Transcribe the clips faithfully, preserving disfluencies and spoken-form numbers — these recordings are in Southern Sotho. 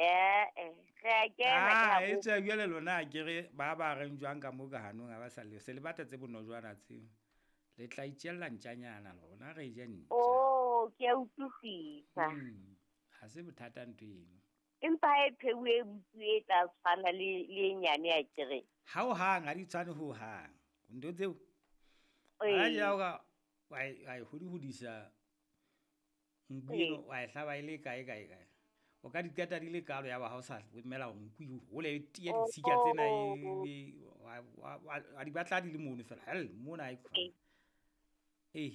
Eh eh re a kena ke Ah, ha e bo tswe jwale lona a kere ba ba reng jwang ka mo ka hanong ha ba sa le se le batla tse bonojwana tseo. Le tla itjella ntjanyana lona re je ntja. Oh, ke a utlwisisa. Mm. Ha se bothata ntho eno. Empa ha e pheuwe e butsuwe e tla tshwana le le e nyane ya kere. Ha o hang ha di tshwane ho hang. Ntho tseo ha Ee. ja o ka wa e wa e hodi-hodisa nku Ee. eno wa e hlaba e le kae kae kae. O ka di qeta di le kalo ya ba ha o sa emela hore nku e hole e tiye ditshika tsena e Oh. e wa wa wa di batla di le mono fela. Hell mona ha e Ee. Eh.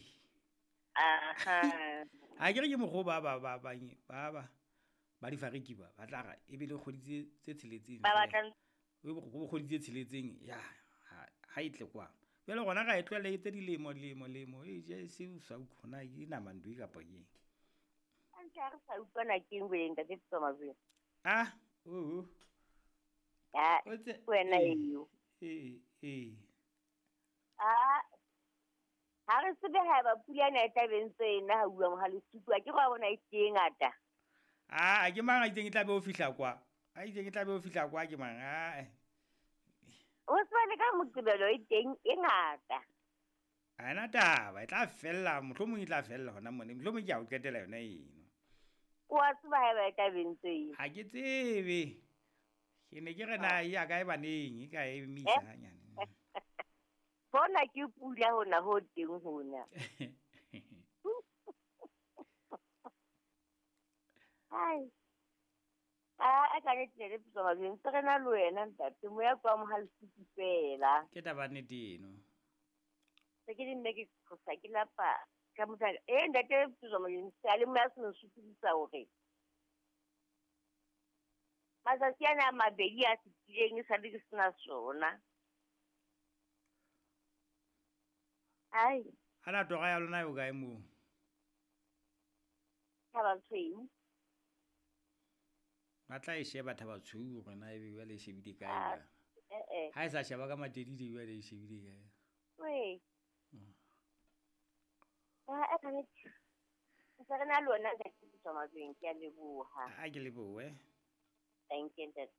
Aha. Ha ke re ke mokgwa o ba ba ba ba ba ba ba difariki ba ba tla ra e be le kgwedi tse tse tsheletseng Ba feela. batlang E be kgwedi tse tsheletseng ya ha ha e tle kwano. Jwale rona ra e tlohella e etse dilemo lemo lemo e je se o sa utlwe hore na ke nama ntho e kapa ke eng. Hantle ha re sa utlwana keng wena ntate Tswamajweng? Ah, oho. Ah, O tse ke wena ee eo. ee ee. Ah, ha re tsebe haeba pula ena e tla be ntse e na ha uwa Mohalesutu, akere wa bona e hlile e ngata. Ah, ke mang a itseng e tla be o fihla kwa? A itseng e tla be o fihla kwa ke mang? Ah. O tseba le ka Moqebelo e teng e ngata. Ha ena taba, e tla fella, mohlomong e tla fella hona mona. Mohlomong ke ya ho qetela yona eno. O a tseba haeba e tla be ntse e. Ha ke tsebe. Ke ne ke re na e ya kae baneng, e ka emisa Eh? hanyane. Hona ke pula hona ho teng hona. Hai. Ah, a ka nnete ne le Tswamajweng ntse re na le wena ntate, moya ke wa Mohalesutu fela. Ke taba ya nnete eno. Se ke di nne ke qhosa ke lapa ka motho. Eh ntate Tswamajweng seyalemoya se nsokodisa hore matsatsi ana a mabedi a fetileng esale ke sena sona. Ai. Ana tora ya lona e hokae moo? Thaba Tshweu. Ba tla e sheba Thaba Tshweu hore na ebe jwale e shebile kae Ah, jwale. eh eh. Ha e sa sheba ka matedidi jwale e shebile kae. Wee. Mm. Ah, a ka nnete. Ntse re na le wena ntate Tswamajweng, ke a leboha. Ha ke lebohe. Thank you ntate.